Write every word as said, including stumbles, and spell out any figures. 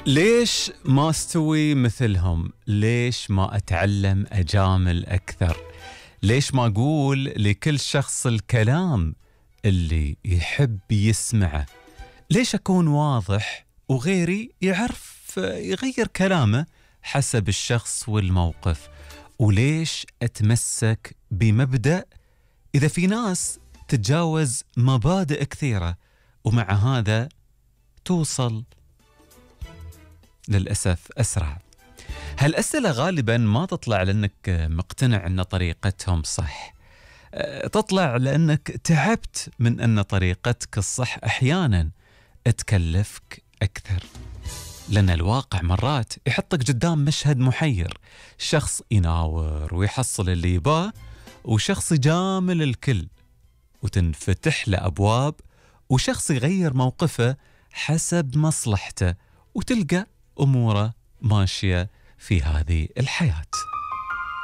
ليش ما استوي مثلهم؟ ليش ما أتعلم أجامل أكثر؟ ليش ما أقول لكل شخص الكلام اللي يحب يسمعه؟ ليش أكون واضح وغيري يعرف يغير كلامه حسب الشخص والموقف؟ وليش أتمسك بمبدأ إذا في ناس تتجاوز مبادئ كثيرة ومع هذا توصل للأسف أسرع؟ هالأسئلة غالباً ما تطلع لأنك مقتنع أن طريقتهم صح، تطلع لأنك تعبت من أن طريقتك الصح أحياناً تكلفك أكثر، لأن الواقع مرات يحطك قدام مشهد محير، شخص يناور ويحصل اللي يباه، وشخص يجامل الكل وتنفتح له أبواب، وشخص يغير موقفه حسب مصلحته، وتلقى أموره ماشية في هذه الحياة.